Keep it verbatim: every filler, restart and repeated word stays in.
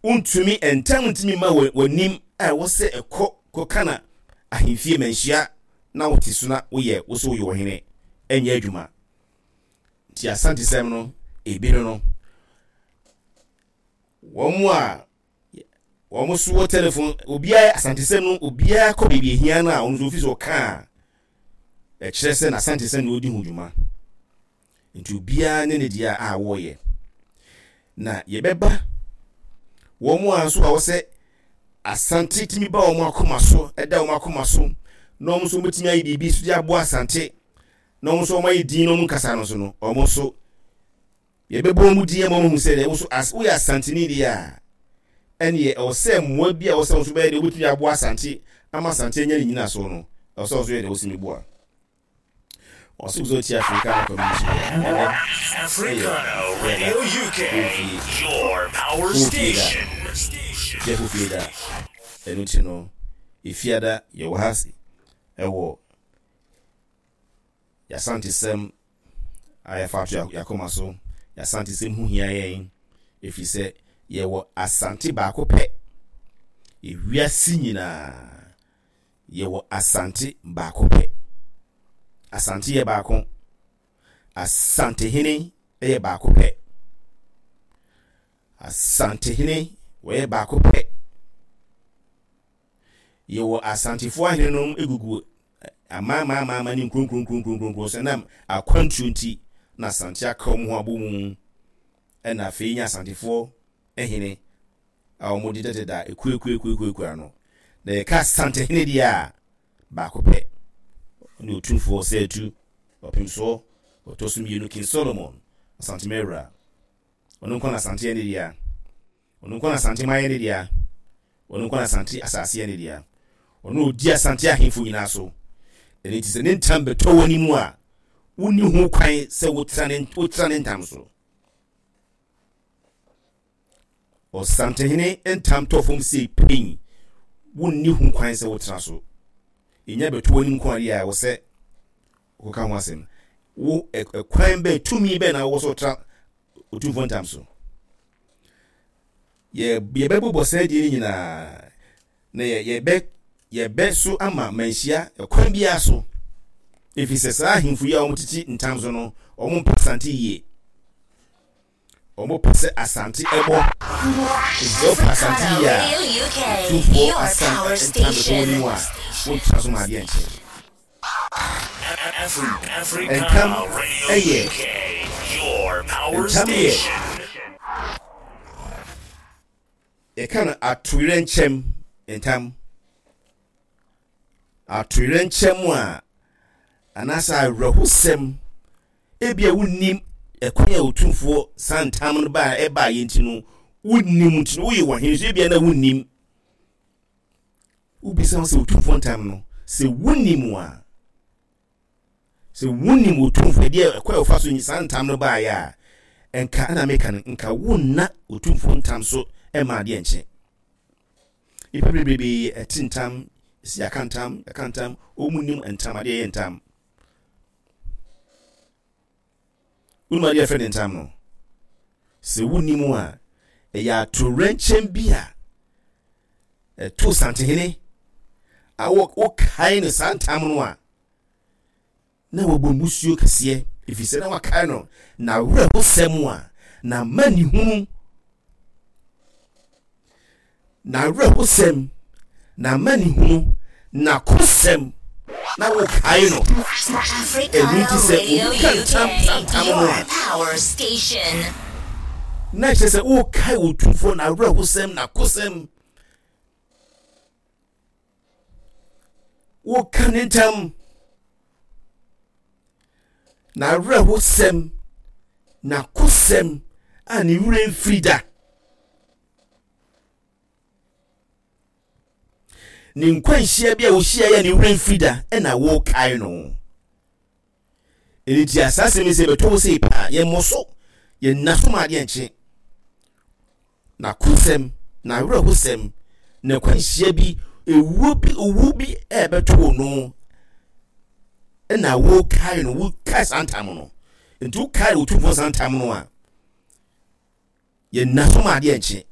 Wontumi ntam ntumi ma w'anim a ɛwɔ sɛ ɛkɔ kɔka na ahemfie manhyia na wote so na woyɛ wo so woyɛ ɔhene, ɛnyɛ adwuma. Nti Asantesɛm no ebi no no wɔn a wɔn so wɔ telefon, obiara Asantesɛm no, obiara kɔ baabi ehia no a ɔno nso ofi so ɔka a ɛkyerɛ sɛ n'Asantesɛm na ɔdi ho dwuma. Nti obiara ne ne deɛ a wɔreyɛ. Na yɛbɛba wɔn a nso a wɔsɛ Asante tumi ba wɔn akoma so, ɛda wɔn akoma so, na wɔn nso wɔbɛtumi ayɛ biribi so de aboa Asante, na wɔn nso wɔn ayɛ din na wɔn nkasa no so no, wɔn nso yɛbɛbɔ wɔn din ama wɔn ahu sɛ deɛ wɔn nso woyɛ Asanteni deɛ a, ɛneɛ ɛwɔ sɛ mmoa bi a wɔsɛ wɔn nso bɛyɛ deɛ wɔbɛtumi aboa Asante ama Asante anya ne nyina so no, ɛwɔ sɛ wɔn nso yɛ deɛ wɔsi boa. Ɔsɛ sɛ ɔti Africana Community. Africana Radio U K, your power station. Jeffo Fieda. Ɛno nti no, Efiada yɛwɔ ha ɛwɔ Yɛasantesɛm a yɛfa ato yɛakoma so. Yɛasantesɛm ho hia yɛn, ɛfiri sɛ yɛwɔ Asante baako pɛ. Ewiase nyinaa yɛwɔ Asante baako pɛ. Asante yɛ baako. Asantehene yɛ baako pɛ. Asantehene wɔyɛ baako pɛ. Yɛwɔ Asantefoɔ ahene nom egugu amaamaamaama ne nkuronkronkronkronkron so, ɛnam akwantuo nti na Asante aka wɔn ho abɔ mu, ɛna afei nya Asantefoɔ hene a wɔn dedadeda ekuekuekuekuekua ano. Na yɛka Asantehene deɛ a, baako pɛ. Ɔne Otumfoɔ Sɛɛtu Ɔpemsoɔ ɔtɔ so mmienu, King Solomon Asante Mawura. Ɔno nko na Asante yɛ ne dea. Ɔno nko na Asante man yɛ ne dea. Ɔno nko na Asante asase yɛ ne dea. Ɔno odi Asante ahemfo nyinaa so. Ɛno nti sɛ ne ntam bɛtɔ wɔ ne mu a, wonni ho kwan sɛ wotra ne wotra ne ntam so. Ɔsantehene ntam tɔ fam sei pɛn, wonni ho kwan sɛ wotra so. Ɛnya bɛtɔ w'anim nko adeɛ a ɛwɔ sɛ woka ho asɛm. Wo ɛkwan bɛn, tumi bɛn na wowɔ sɛ wotra Otumfoɔ ntam so? Yɛ yɛbɛbobɔ saa die no nyinaa na yɛ yɛbɛ yɛbɛ so ama manhyia ɛkwan biara so, ɛfiri sɛ saa ahemfo yi a wɔtete ntam so no, wɔn mpɛ Asante yie. Wɔn pɛ sɛ Asante ɛbɔ. Nti sɛ wopɛ Asante yie a, Otumfoɔ asan ntam bɛtɔ wɔn mu a, wɔntra so ma adeɛ nkyɛn. Ntam ɛyɛ ntam yɛ yɛka no atoyerɛnkyɛm ntam. Atoyerɛnkyɛm a anaasɛ awerɛhosɛm, ebia wonnim ɛkwan a Otumfoɔ saa ntam no baa ɛbaa yɛn ti no, wonnim nti no woyɛ wɔhene so, ebia na wonnim. Wobisa wo sɛ Otumfoɔ ntam no, sɛ wonnim a, sɛ wonnim Otumfoɔ ɛdeɛ ɛkwan a wɔfa so saa ntam no baeɛ a, nka ɛna meka no, nka wonna Otumfoɔ ntam so ɛma adeɛ nkye. Nnipa bebrebe ɛte ntam, si yɛaka ntam, yɛaka ntam, wɔn nim ntam, adeɛ yɛ ntam. Wonim adeɛ yɛfrɛ ne ntam no? Sɛ wonnim a, ɛyɛ atoyerɛnkyɛm bi a ɛto Santehene a wokae no saa ntam no a, na wɔbɔ mmusuo kɛseɛ, ɛfiri sɛ na wakae no na awerɛhosɛm a na amanehunu, na awerɛhosɛm na amanehunu na kosɛm na wokae no. Ɛno nti sɛ obi ka ntam ntam no a, na kyerɛ sɛ wokae Otumfoɔ na awerɛhosɛm na kosɛm, woka ne ntam na awerɛhosɛm na kosɛm a ne werɛ mfiri da, ne nkwanhyia bi a wɔhyia yɛ ne werɛ mfiri da, ɛna wokae no. Ɛno nti saa asɛm yi sɛ bɛtɔ wo sei paa, yɛmmɔ so, yɛnna so ma adeɛ nkye. Na kosɛm na awerɛhosɛm na kwanhyia bi, ewuo bi, owu bi ɛbɛto wo no, ɛna wokae no, wokae saa ntam no. Nti wokae Otumfoɔ saa ntam no a, yɛnna so ma adeɛ nkye.